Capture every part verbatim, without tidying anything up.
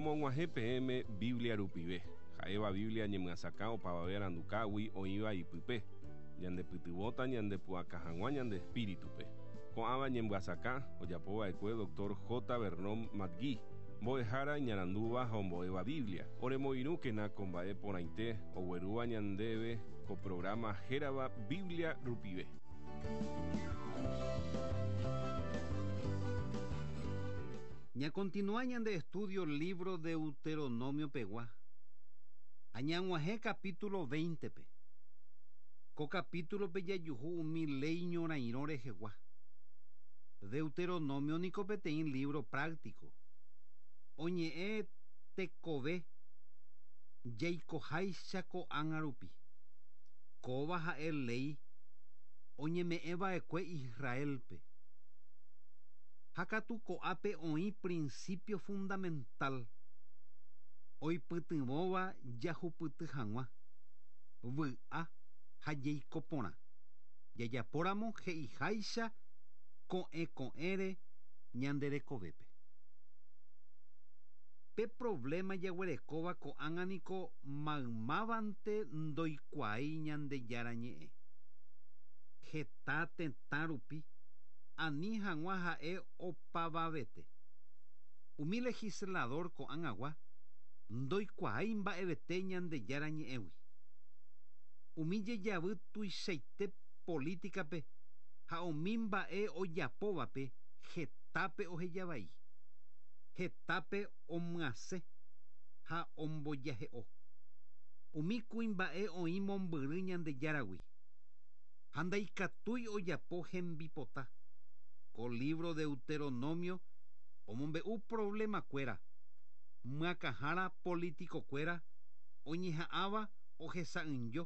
Romog̃uahẽ peẽme Biblia rupive. Ha'éva Biblia ñemyasakã opavave arandukágui oĩva ipype. Ñandepytyvõta ñandepu'aka hag̃ua ñande espíritupe. Ko'ãva ñemyasakã ojapova'ekue doctor J. Vernon McGee, mbo'ehára iñarandúva ha ombo'éva Biblia. Oremoirũkena ko mba'e porãite oguerúva ñandéve ko programa hérava Biblia rupive. Ña continúa ñande estudio libro Deuteronomio pegua. Añaguajé capítulo veinte pe. Ko capítulo pe jajuhu umi ley ñorairõ rehegua. Deuteronomio niko peteĩ libro práctico. Oñe'ẽ tekove jaikoháicha ko'ág̃a rupi. Kóva ha'e ley oñeme'ẽva'ekue Israelpe. Ha katu ko'ápe oĩ principio fundamental oipytyvõva jahupyty hag̃ua vy'a ha jeiko porã. Jajapóramo he'iháicha ko'ẽ ko'ẽre ñande rekovépe. Pe problema jaguerekóva ko'ág̃a niko maymávante ndoikuaái Ñandejára ñe'ẽ. Heta tetã rupi ani hag̃ua ha'e opavavete. Umi legislador ko'ág̃agua ndoikuaái mba'evete Ñandejára ñe'ẽgui. Umi jejavy tuichaite políticape ha umi mba'e ojapóvape hetápe ohejavai. Hetápe omyasẽ ha ombojahe'o. Umi kuimba'e oĩ mombyry Ñandejáragui. Ha ndaikatúi ojapo hembipota. Ko libro Deuteronomio omombe'u problema-kuéra, myakãhára político-kuéra oñeha'ãva ohesa'ỹijo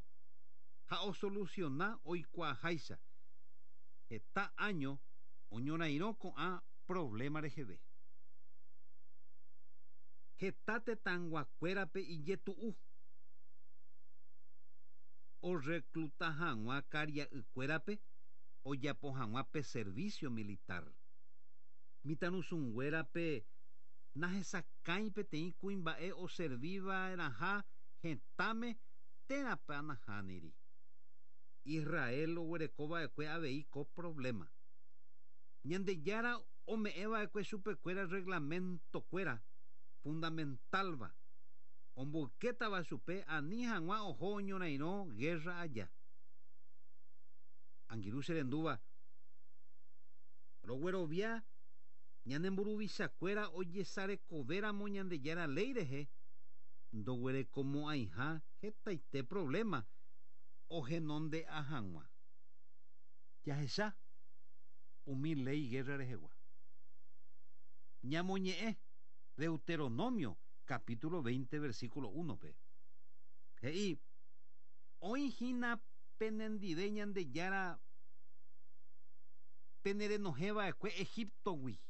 ha osoluciona oikuaaháicha. Heta año oñorairõ ko'ã problema reheve. Heta tetãyguakuérape ijetu'u orecluta hag̃ua karia'ykuérape ojapo hag̃ua pe servicio militar. Mitãrusunguérape nahesakãi peteĩ kuimba'e oserviva'erãha hetãme térãpa nahániri. Israel oguerekova'ekue avei ko problema. Ñandejára ome'ẽva'ekue chupekuéra reglamento-kuéra fundamentalva omboykétava chupe ani hag̃ua oho oñorairõ guerra aja. Angirũ cherendúva roguerovia ñane mburuvichakuéra ojesarekovéramo Ñandejára ley rehe ndoguerekomo'ãiha hetaite problema ohenonde'a hag̃ua. Jahecha umi ley guerra rehegua. Ñamoñe'ẽ Deuteronomio capítulo veinte versículo uno pe. He'i oĩhína penendive Ñandejára penerenohẽva'ekue Egiptogui.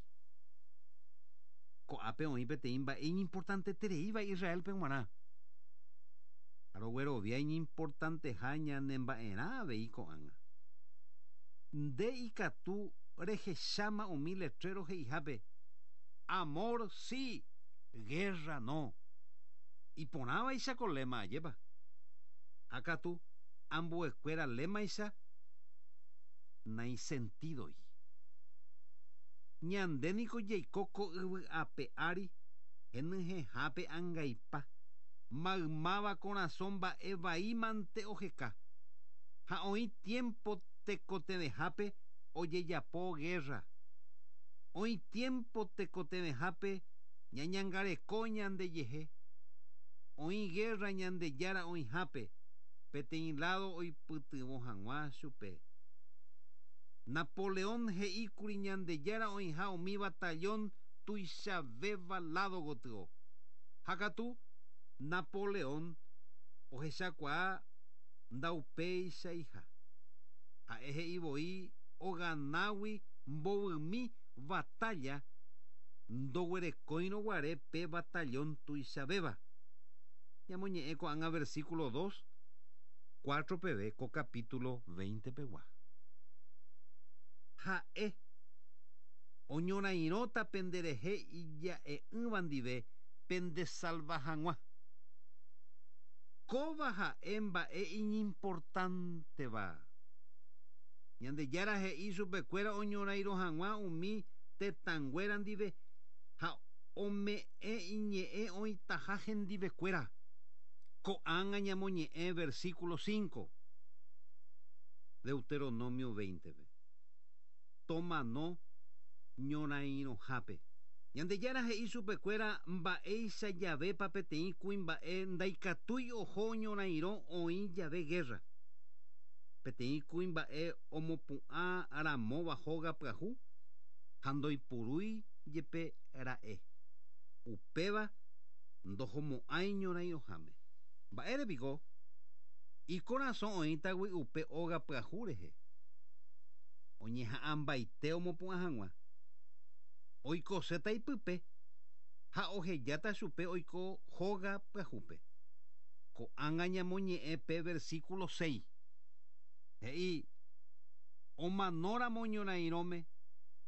Ko'ápe oĩ peteĩ mba'e iñimportantetereíva Israelpe g̃uarã. Roguerovia iñimportanteha ñanemba'erã avei ko'ág̃a. Nde ikatu rehecháma umi letrero he'ihápe amor sí, guerra no. Iporãvaicha ko lema ajépa. Ha katu ambuekuéra lemaicha naisentidoi. Ñande niko jaiko ko yvy ape ári henyhẽhápe angaipa maymáva korasõ mba'e vaímante oheka. Ha oĩ tiempo tekotevẽhápe ojejapo guerra. Oĩ tiempo tekotevẽhápe ñañangareko ñandejehe. Oĩ guerra Ñandejára oĩhápe peteĩ lado oipytyvõ hag̃ua chupe. Napoleón he'íkuri Ñandejára oĩha umi batallón tuichavéva lado gotyo. Ha katu Napoleón ohechakuaa ndaupeichaiha. Ha'e he'ivoi oganágui mbovymi batalla ndoguerekóirõ guare pe batallón tuichavéva. Ñamoñe'ẽ ko'ág̃a versículo dos, cuatro peve ko capítulo veinte pegua. Ha'e oñorairõta penderehe ija'e'ỹva ndive pendesalva hag̃ua. Kóva ha'e mba'e iñimportánteva. Ñandejára he'i chupekuéra oñorairõ hag̃ua umi tetãnguéra ndive ha ome'ẽ iñe'ẽ oĩtaha hendivekuéra. Ko'ág̃a ñamoñe'ẽ versículo cinco. Deuteronomio veinte-pe. Tomano ñorairõhápe. Ñandejára he'i chupekuéra mba'éicha javépa peteĩ kuimba'e ndaikatúi oho ñorairõ oĩ jave guerra. Peteĩ kuimba'e omopu'ã ramóva hóga pyahu ha ndoipurúi jepe ra'e. Upéva ndohomo'ãi ñorairõháme. Mba'érepiko ikorasõ oĩtagui upe óga pyahu rehe. Oñeha'ãmbaite omopu'ã hag̃ua. Oikoséta ipype ha ohejáta chupe oiko hóga pyahúpe. Ko'ág̃a ñamoñe'ẽ pe versículo seis. He'i omanóramo ñorairõme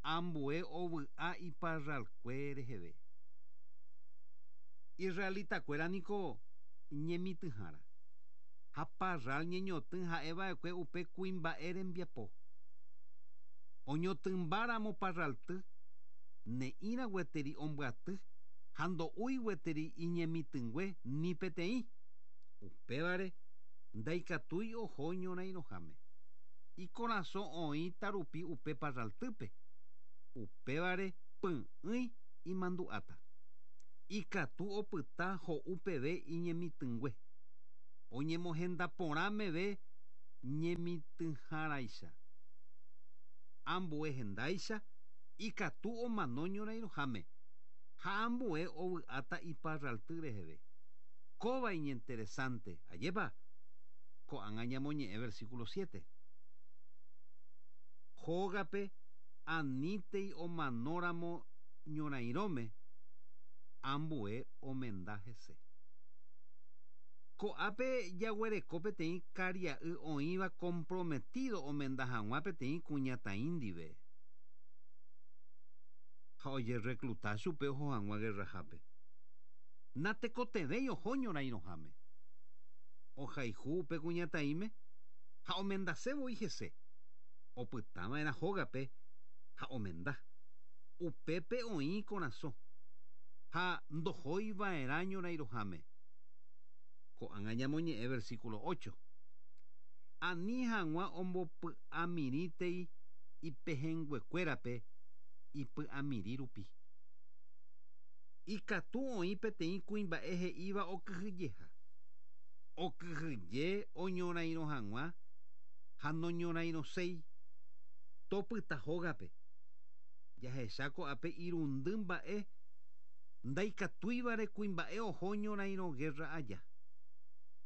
ambue ovy'a iparralkue reheve. Israelitakuéra niko ñemitỹhára ha parral ñeñotỹ ha'eva'ekue upe kuimba'e rembiapo. Oñotỹmbáramo parralty ne'ĩra gueteri ombyaty ha ndo'úi gueteri iñemitỹngue ni peteĩ. Upévare ndaikatúi oho ñorairõháme. Ikorasõ oĩta rupi upe parraltýpe. Upévare py'ỹi imandu'áta. Ikatu opyta ho'u peve iñemitỹngue. Oñemohenda porã meve ñemitỹháraicha. Ambue hendáicha ikatu omano ñorairõháme ha ambue ovy'áta iparralty reheve. Kóva iñinteresante. Ajépa? Ko'ág̃a ñamoñe'ẽ versículo siete. Hógape anítei omanóramo ñorairõme ambue omenda hese. Ko'ápe jaguereko peteĩ karia'y oĩva comprometido omenda hag̃ua peteĩ kuñataĩ ndive. Ha ojerecluta chupe oho hag̃ua guerrahápe. Natekotevẽi oho ñorairõháme. Ohayhu upe kuñataĩme ha omendasévoi hese. Opytava'erã hógape ha omenda. Upépe oĩ korasõ ha ndohóiva'erã ñorairõháme. Ko'ág̃a ñamoñe'ẽ versículo ocho. Ani hag̃ua ombopy'amirĩtei ipehẽnguekuérape ipy'amirĩ rupi. Ikatu oĩ peteĩ kuimba'e he'íva okyhyjeha. Okyhyje oñorairõ hag̃ua ha noñorairõséi. Topyta hógape. Jahecha ko'ápe irundy mba'e ndaikatúivare kuimba'e oho ñorairõ guerra aja.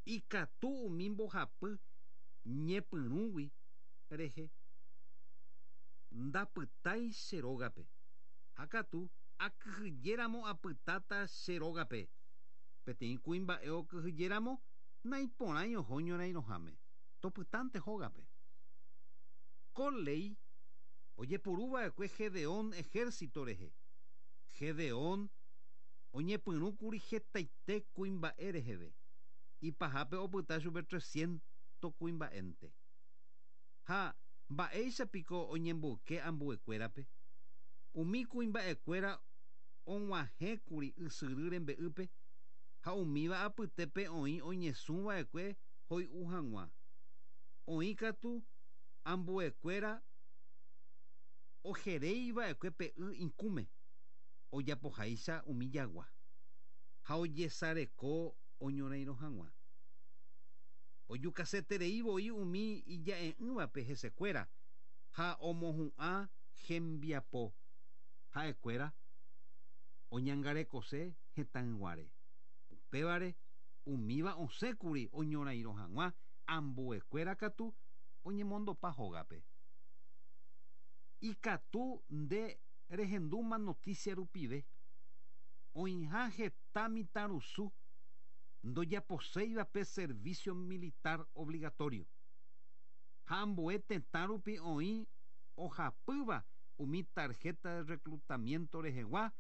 Ikatu umi mbohapy ñepyrũgui rehe ndapytái che rógape. Ha katu akyhyjéramo apytáta che rógape. Peteĩ kuimba'e okyhyjéramo naiporãi oho ñorairõháme. Topytánte hógape. Ko léi ojepuruva'ekue Gedeón ejército rehe. Gedeón oñepyrũkuri hetaite kuimba'e reheve. Ipahápe opyta chupe trescientos kuimba'énte. Ha mba'éichapiko oñemboyke ambuekuérape. Umi kuimba'ekuéra og̃uahẽkuri ysyry rembe'ýpe ha umíva apytépe oĩ oñesũva'ekue hoy'u hag̃ua. Oĩ katu ambuekuéra ojeréiva'ekue pe y ikũme ojapoháicha umi jagua ha ojesareko oñorairõ hag̃ua. Ojukaseterei voi umi ija'e'ỹvape hesekuéra ha omohu'ã hembiapo ha'ekuéra oñangarekose hetãyguáre. Upévare umíva osẽkuri oñorairõ hag̃ua ambuekuéra katu oñemondopa hógape. Ikatu nde rehendúma noticia rupive. Oĩha heta mitãrusu ndojaposéiva pe servicio militar obligatorio. Ha ambue tetã rupi oĩ ohapýva umi tarjeta de reclutamiento rehegua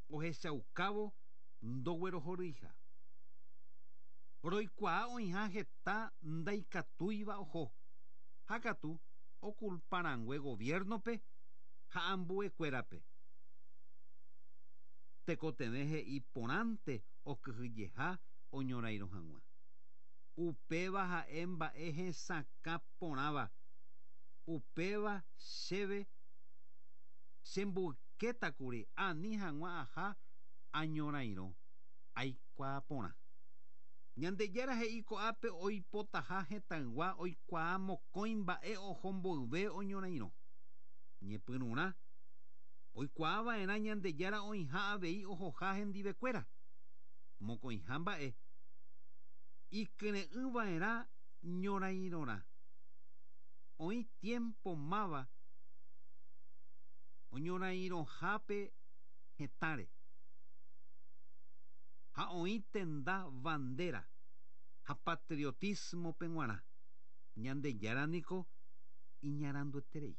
ohechaukávo ndoguerohoryha. Roikuaa oĩha heta ndaikatúiva oho. Ha katu okulparãngue gobierno-pe ha ambuekuérape. Tekotevẽ he'i porãnte okyhyjeha oñorairõ hag̃ua. Upéva ha'e mba'e hesakã porãva. Upéva chéve chemboykétakuri ani hag̃ua aha añorairõ aikuaa porã. Ñandejára he'i ko'ápe oipotaha hetãygua oikuaa mokõi mba'e oho mboyve oñorairõ. Ñepyrũrã oikuaava'erã Ñandejára oĩha avei ohoha hendivekuéra. Mokõiha mba'e ikyre'ỹva'erã ñorairõrã. Oĩ tiempo máva oñorairõhápe hetãre. Ha oĩ tenda bandera ha patriotismo-pe g̃uarã. Ñandejára niko iñarandueterei.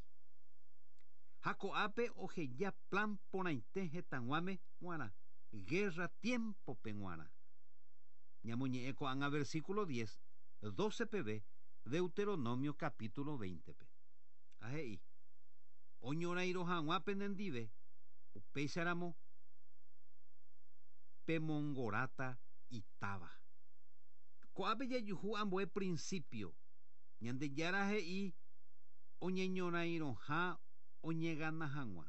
Ha ko'ápe oheja plan porãite hetãg̃uáme g̃uarã, guerra tiempo-pe g̃uarã. Ñamoñe'ẽ ko'ág̃a versículo diez, doce peve, Deuteronomio capítulo veinte-pe. Ha he'i, oñorairõ hag̃ua penendive, upéicharamo pemongoráta itáva. Ko'ápe jajuhu ambue principio. Ñandejára he'i oñeñorairõha oñegana hag̃ua.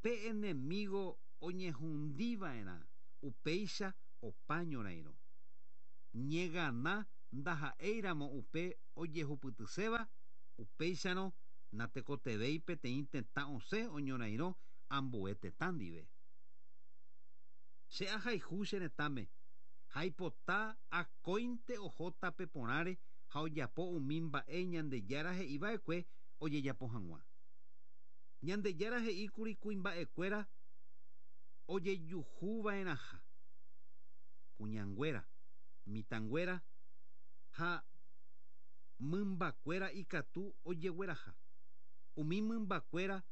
Pe enemigo oñehundiva'erã, upéicha opa ñorairõ. Ñegana ndaha'éiramo upe ojehupytyséva, upéicharõ natekotevẽi peteĩ tetã osẽ oñorairõ ambue tetã ndive. Che ahayhu che retãme, haipota akóinte ohóta pe porãre ha ojapo umi mba'e Ñandejára he'iva'ekue ojejapo hag̃ua. Ñandejára he'íkuri kuimba'ekuéra ojejuhuva'erãha. Kuñanguéra, mitãnguéra ha mymbakuéra ikatu ojegueraha. Umi mymbakuéra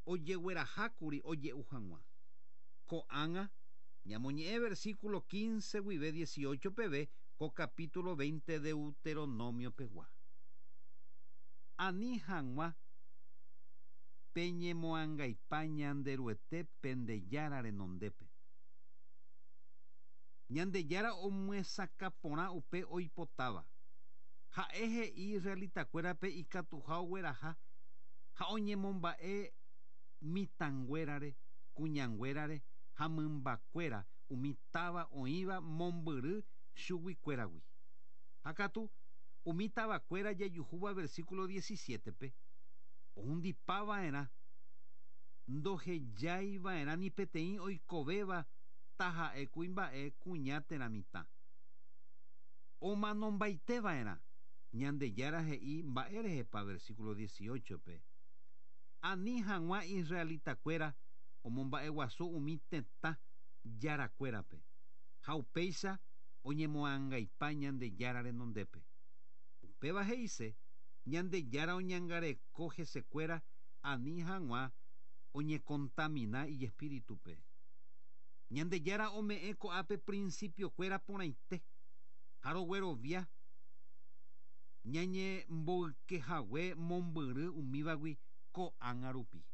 ojeguerahákuri oje'u hag̃ua. Ko'ág̃a ñamoñe'ẽ versículo quince guive dieciocho peve ko capítulo veinte Deuteronomio pegua. Ani hag̃ua peñemoangaipa Ñanderuete Pendejára renondépe. Ñandejára omyesakã porã upe oipotáva. Ha'e he'i israelitakuérape ikatuha ogueraha ha oñemomba'e mitãnguérare, kuñanguérare ha mymbakuéra umi táva oĩva mombyry chuguikuéragui. Ha katu umi tavakuéra jajuhúva versículo diecisiete-pe ohundipava'erã ndohejaiva'erã ni peteĩ oikovéva taha'e kuimba'e kuña térã mitã. Omanombaiteva'erã. Ñandejára he'i mba'érehepa versículo dieciocho-pe. Ani hag̃ua israelitakuéra omomba'eguasu umi tetã jarakuérape. Ha upéicha oñemoangaipa Ñandejára renondépe. Upéva he'ise Ñandejára oñangareko hesekuéra ani hag̃ua oñecontamina ijespíritupe. Ñandejára ome'ẽ ko'ápe principiokuéra porãite. Ha roguerovia ñañemboykehague mombyry umívagui ko'ág̃a rupi.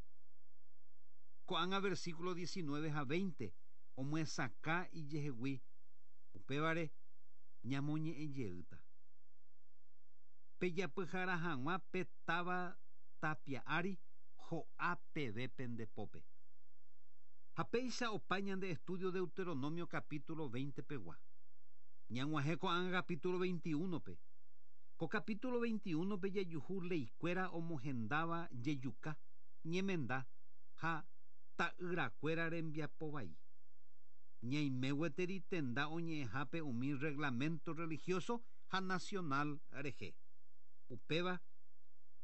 Ko'ág̃a versículo diecinueve ha veinte omyesakã ijehegui upévare ñamoñe'ẽjeýta. Pejapyhara hag̃ua pe táva tapia ári ho'a peve pendepópe. Ha péicha opa ñande estudio Deuteronomio capítulo veinte pegua. Ñag̃uahẽ ko'ág̃a capítulo veintiuno-pe. Ko capítulo veintiuno-pe jajuhu leikuéra omohendáva jejuka, ñemenda ha ta'yrakuéra rembiapovai. Ñaime gueteri tenda oñe'ẽhápe umi reglamento religioso ha nacional rehe. Upéva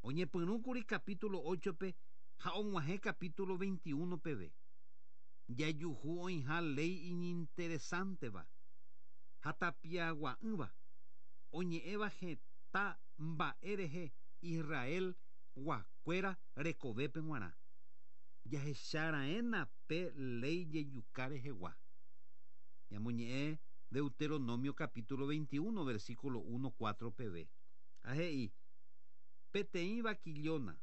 oñepyrũkuri capítulo ocho-pe ha og̃uahẽ capítulo veintiuno peve. Jajuhu oĩha ley iñinteresanteva ha tapiagua'ỹva oñe'ẽva heta mba'e rehe Israel guakuéra rekovépe g̃uarã. Jahecharaẽna pe ley jejuka rehegua. Ñamoñe'ẽ Deuteronomio capítulo veintiuno, versículo uno, cuatro pb. Ha he'i, peteĩ vaquillona,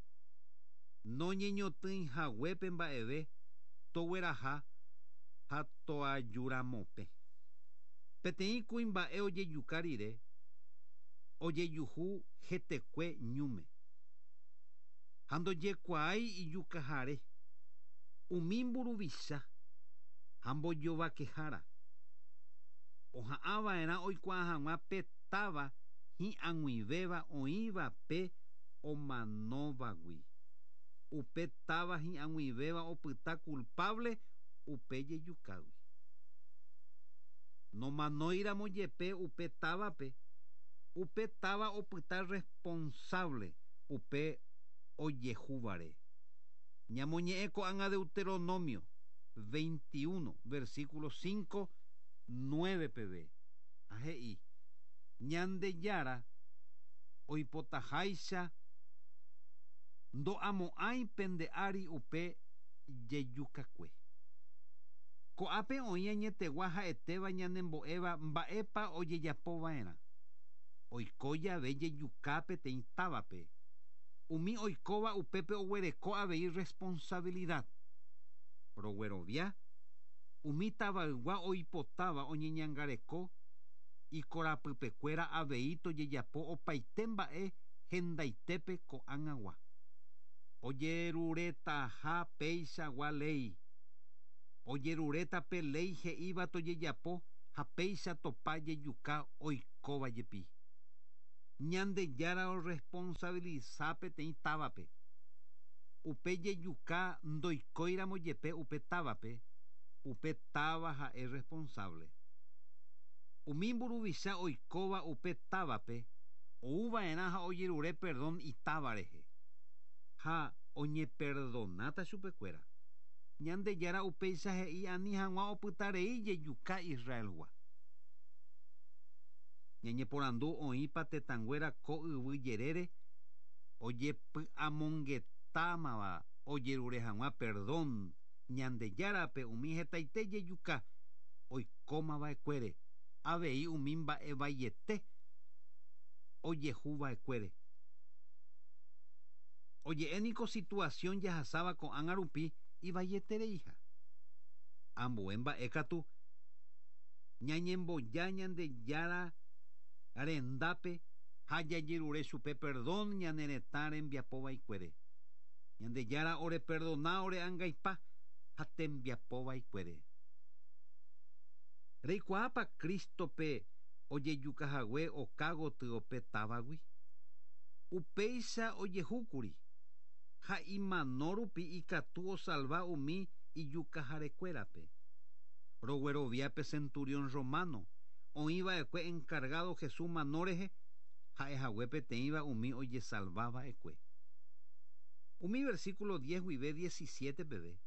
noñeñotỹi haguépe mba'eve, togueraha ha toajuramope. Peteĩ kuimba'e ojejuka rire, ojejuhu hetekue ñúme. Ha ndojekuaái ijukahare, umi mburuvicha ha mbojovakehára. Oha'ãva'erã oikuaa hag̃ua pe táva hi'ag̃uivéva oĩva pe omanóvagui. Upe táva hi'ag̃uivéva opyta culpable upe jejukágui. Nomanóiramo jepe upe távape, upe táva opyta responsable upe ojehúvare. Ñamoñe'ẽ ko'ág̃a Deuteronomio veintiuno, versículo cinco, nueve pb. Ha he'i, Ñandejára oipotaháicha ndo'amo'ãi pende ári upe jejukakue. Ko'ápe oĩ añetegua ha'etéva ñanembo'éva mba'épa ojejapova'erã. Oiko jave jejuka peteĩ távape. Umi oikóva upépe oguereko avei responsabilidad. Roguerovia, umi tavaygua oipotáva oñeñangareko ikorapypekuéra avei tojejapo opaite mba'e hendaitépe ko'ág̃agua. Ojeruretaha péichagua léi. Ojerureta pe léi he'íva tojejapo ha péicha topa jejuka oikóva jepi. Ñandejára orresponsabiliza peteĩ távape. Upe jejuka ndoikóiramo jepe upe távape, upe táva ha'e responsable. Umi mburuvicha oikóva upe távape, ouva'erã ha ojerure perdón itáva rehe. Ha oñeperdonáta chupekuéra. Ñandejára upéicha he'i ani hag̃ua opytarei jejuka Israelgua. Ñañeporandu oĩpa tetãnguéra ko yvy jerére ojepy'amongetámava ojerure hag̃ua perdón Ñandejárape umi hetaite jejuka oikómava'ekuére, avei umi mba'evaiete ojehuva'ekuére. Oje'éniko situación jahasáva ko'ág̃a rupi ivaietereiha. Ambue mba'e katu ñañemboja Ñandejára rendápe ha jajerure chupe perdón ñane retã rembiapovaikuére. Ñandejára oreperdona ore'angaipa ha tembiapovaikuére. Reikuaápa Cristope ojejukahague okágotyo pe távagui. Upéicha ojehúkuri ha imano rupi ikatu osalva umi ijukaharekuérape. Roguerovia pe centurión romano oĩva'ekue encargado Jesús mano rehe ha'ehague peteĩva umi ojesalvava'ekue. Umi versículo diez guive diecisiete peve.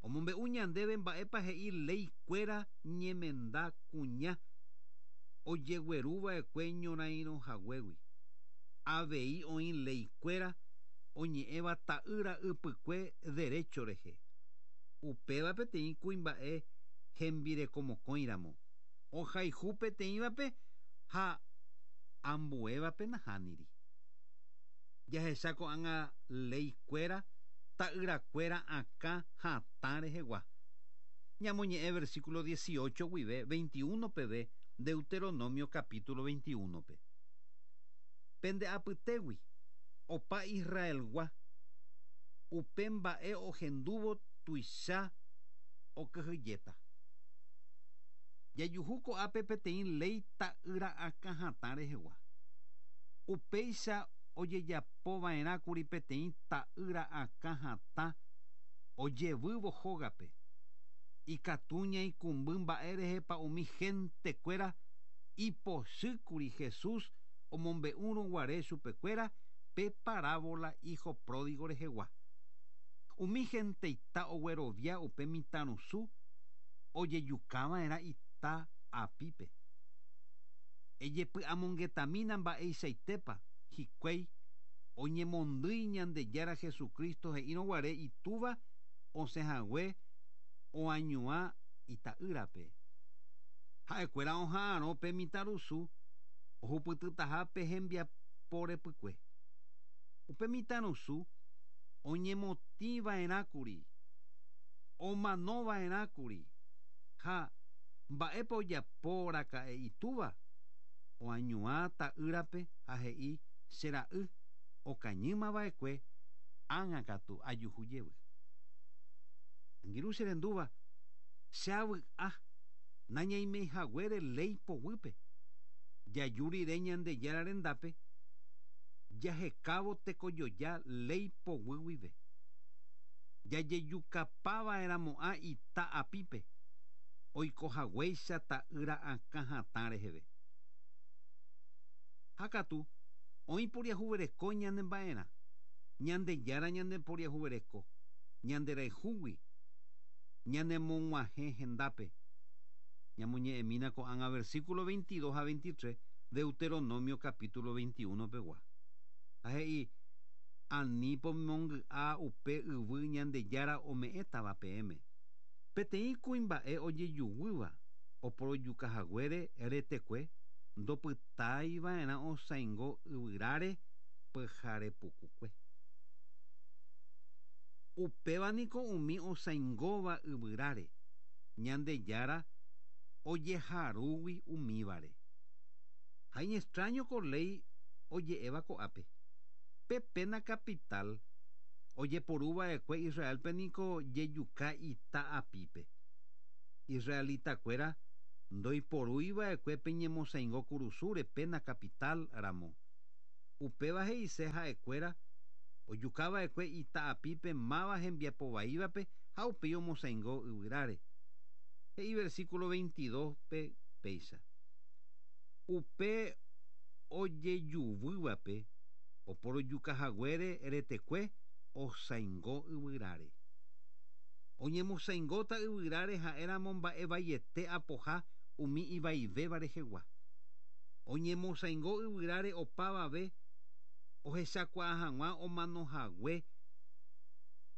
Omombe'u ñandéve mba'épa he'i leikuéra ñemenda kuña ojegueruva'ekue ñorairõhaguégui. Avei oĩ leikuéra oñe'ẽva ta'ýra ypykue derecho rehe. Upéva peteĩ kuimba'e hembirekomokõiramo. Ohayhu peteĩvape ha ambuévape nahániri. Jahecha ko'ág̃a leikuéra ta'yrakuéra akã hatã rehegua. Ñamoñe'ẽ versículo dieciocho guive veintiuno peve Deuteronomio capítulo veintiuno pe. Pende apytégui opa Israelgua upe mba'e ohendúvo tuicha okyhyjéta. Jajuhu ko'ápe peteĩ léi ta'ýra akã hatã rehegua. Upéicha ojejapova'erãkuri peteĩ ta'ýra akã hatã ojevývo hógape. Ikatu ñaikũmby mba'e rehepa umi gentekuéra ipochýkuri Jesús omombe'úrõ guare chupekuéra pe parábola hijo pródigo rehegua. Umi genteita oguerovia upe mitãrusu ojejukava'erã ita apípe. Ejepy'amongetamína mba'eichaitépa hikuái oñemondýi Ñandejára Jesucristo he'írõ guare itúva osẽhague oañuã ita'ýrape. Ha'ekuéra oha'arõ pe mitãrusu ohupytytaha pe hembiaporepykue. Upe mitãrusu oñemotĩva'erãkuri, omanova'erãkuri ha mba'épa ojaporaka'e itúva oañuã ta'ýrape ha he'i che ra'y okañýmava'ekue ág̃akatu ajuhu jevy. Angirũ che rendúva che avy'a nañaimeihaguére léi poguýpe jaju rire Ñandejára rendápe jahekávo tekojoja léi poguy guive. Jajejukapava'erãmo'ã ita apípe oikohaguéicha ta'ýra akã hatã reheve. Ha katu oĩporiahuvereko ñanemba'erã Ñandejára ñandeporiahuvereko ñanderayhúgui ñanemog̃uahẽ hendápe. Ñamoñe'ẽmína ko'ág̃a versículo veintidós ha veintitrés Deuteronomio capítulo veintiuno pegua. Ha he'i ani pomongy'a upe yvy Ñandejára ome'ẽtava peẽme. Peteĩ kuimba'e ojejuguýva oporojukahaguére retekue ndopytáiva'erã osãingo yvyráre pyharepukukue. Upévaniko umi osãingóva yvyráre Ñandejára ojeharúgui umívare. Ha iñextraño ko léi oje'éva ko'ápe. Pe pena capital ojeporuva'ekue Israelpe niko jejuka ita apípe. Israelitakuéra ndoiporúiva'ekue pe ñemosãingo kurusúre pena capital ramo. Upéva he'ise ha'ekuéra ojukava'ekue ita apípe máva hembiapovaívape ha upéi omosãingo yvyráre. He'i versículo veintidós pe péicha. Upe ojejuvývape oporojukahaguére retekue osãingo yvyráre. Oñemosãingóta yvyráre ha'éramo mba'evaiete apoha umi ivaivéva rehegua. Oñemosãingo yvyráre opavave ohechakuaa hag̃ua omanohague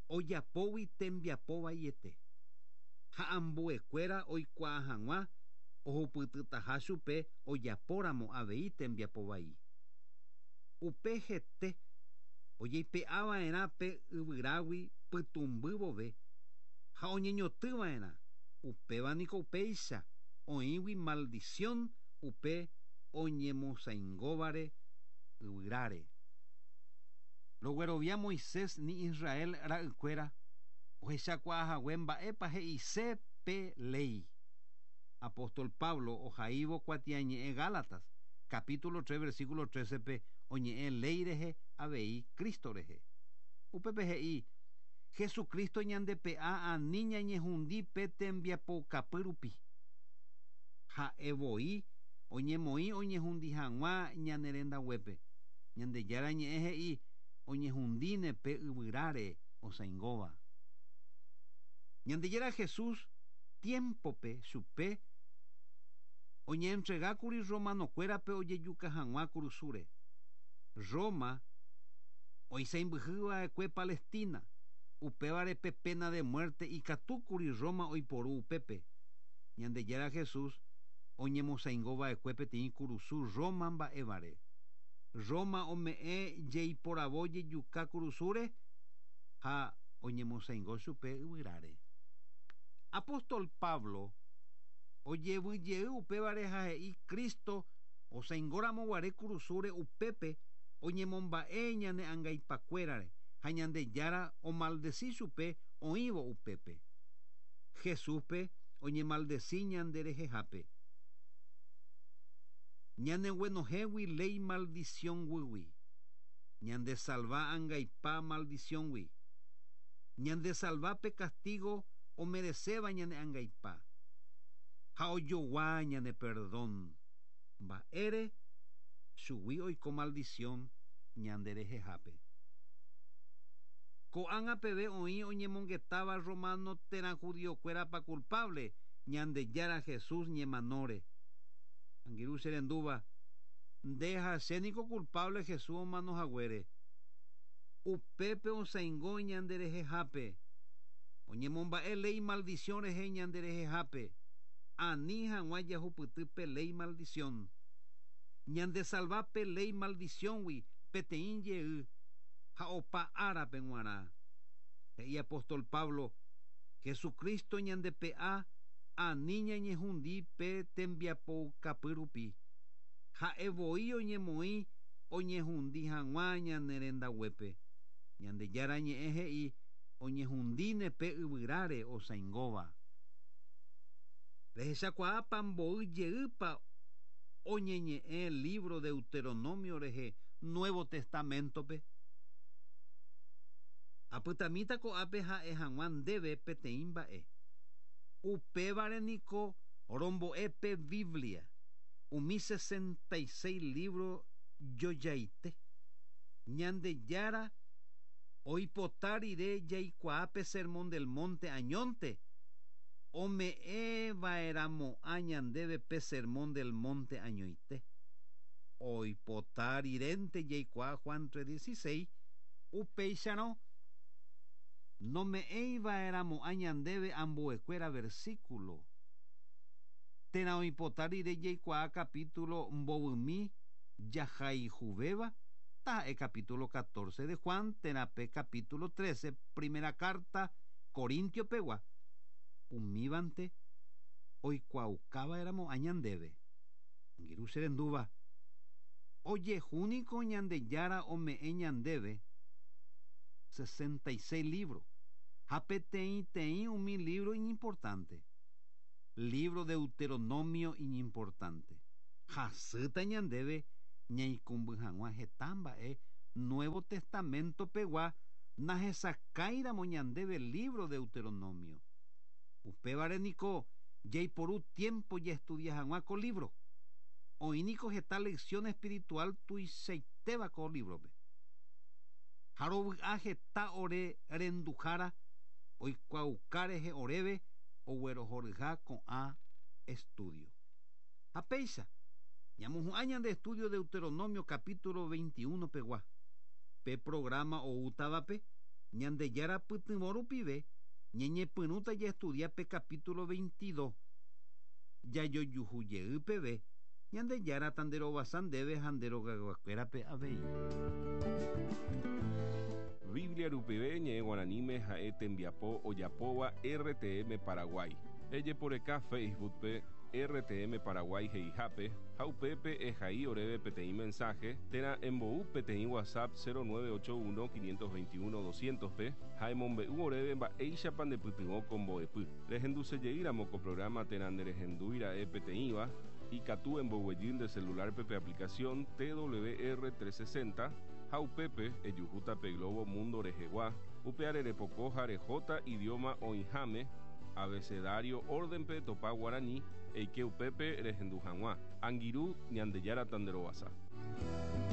ojapógui tembiapovaiete. Ha ambuekuéra oikuaa hag̃ua ohupytytaha chupe ojapóramo avei tembiapovai. Upe hete ojeipe'ava'erã pe yvyrágui pytũmby vove ha oñeñotỹva'erã upévaniko upéicha oĩgui maldición upe oñemosãingóvare yvyráre. Roguerovia Moisés ni Israel ra'ykuéra ohechakuaahague mba'épa he'ise pe léi. Apóstol Pablo ohaívo kuatiañe'ẽ Gálatas capítulo tres versículo trece pe oñe'ẽ léi rehe avei Cristo rehe. Upépe he'i Jesucristo ñandepe'a ani ñañehundi pe tembiapokapy rupi. Ha'e voi oñemoĩ oñehundi hag̃ua ñane rendaguépe. Ñandejára ñe'ẽ he'i oñehundíne pe yvyráre osãingóva. Ñandejára Jesús tiempope chupe oñeentregákuri romanokuérape ojejuka hag̃ua kurusúre. Roma oisãimbyhýva'ekue Palestina upévare pe pena de muerte ikatúkuri Roma oiporu upépe. Ñandejára Jesús oñemosãingova'ekue peteĩ kurusu Roma mba'évare. Roma ome'ẽ jeiporavo jejuka kurusúre ha oñemosãingo chupe yvyráre. Apóstol Pablo ojevyjey upévare ha he'i Cristo osãingóramoguare kurusúre upépe oñemomba'e ñane angaipakuérare ha Ñandejára omaldeci chupe oĩvo upépe. Jesúspe oñemaldeci ñanderehehápe. Ñaneguenohégui léi maldicióngui. Ñandesalva angaipa maldicióngui. Ñandesalva pe castigo omerecéva ñane angaipa. Ha ojogua ñane perdón. Mba'ére chugui oiko maldición ñanderehehápe. Ko'ág̃a peve oĩ oñemongetáva romano térã judiokuérapa culpable Ñandejára Jesús ñemanóre. Angirũ che rendúva nde ha chéniko culpable Jesús omanohaguére. Upépe osãingo ñanderehehápe. Oñemomba'e léi maldición rehe ñanderehehápe. Ani hag̃ua jahupyty pe ley maldición. Ñandesalva pe ley maldicióngui peteĩ jey ha opa árape g̃uarã. He'i apóstol Pablo, Jesucristo ñandepe'a ani ñañehundi pe tembiapoukapy rupi. Ha'evoi oñemoĩ oñehundi hag̃ua ñane rendaguépe. Ñandejára ñe'ẽ he'i oñehundíne pe yvyráre osãingóva. Rehechakuaápa mboy jeýpa oñeñe'ẽ libro Deuteronomio rehe Nuevo Testamentope. Apytamíta ko'ápe ha'e hag̃ua ndéve peteĩ mba'e. Upévare niko rombo'e pe Biblia umi sesenta y seis libro jojaite. Ñandejára oipota rire jaikuaa pe Sermón del Monte añónte ome'ẽva'erãmo'ã ñandéve pe Sermón del Monte añoite. Oipota rirénte jaikuaa Juan tres dieciséis upéicharõ nome'ẽiva'erãmo'ã ñandéve ambuekuéra versículo. Térã oipota rire jaikuaa capítulo mbovymi jahayhuvéva taha'e capítulo catorce de Juan térã pe capítulo trece primera carta Corintio pegua umívante oikuaukava'erãmo'ã ñandéve. Angirũ che rendúva ojehúniko Ñandejára ome'ẽ ñandéve sesenta y seis libros ha peteĩteĩ umi libro iñimportante. Libro Deuteronomio iñimportante. Hasýta ñandéve ñaikũmby hag̃ua heta mba'e Nuevo Testamento pegua nahesakãiramo ñandéve libro Deuteronomio. Upévare niko jaiporu tiempo jaestudia hag̃ua ko libro. Oĩ niko heta lección espiritual tuichaitéva ko librope. Ha rovy'a heta ore renduhára oikuaauka rehe oréve oguerohoryha ko'ã estudio. Ha péicha ñamohu'ã ñande estudio Deuteronomio capítulo veintiuno pegua. Pe programa oútavape Ñandejára pytyvõ rupive ñañepyrũta jaestudia pe capítulo veintidós. Jajojuhu jey peve Ñandejára tanderovasa ndéve ha nderogaguakuérape avei. Biblia rupive ñe'ẽ guaraníme ha'e tembiapo ojapóva R T M Paraguay. Ejeporeka Facebookpe R T M Paraguay he'ihápe ha upépe ehai oréve peteĩ mensaje térã embou peteĩ WhatsApp cero nueve ocho uno quinientos veintiuno doscientos pe ha emombe'u oréve mba'éichapa ndepytyvõ ko mbo'epy. Rehendusejeýramo ko programa térã nderehendúira'e peteĩva ikatu emboguejy nde celularpe pe aplicación T W R trescientos sesenta ha upépe ejuhúta pe Globo Mundo rehegua upe arerepoko ha rehóta idioma oĩháme abecedario órdenpe topa guarani eike upépe rehendu hag̃ua. Angirũ Ñandejára tanderovasa.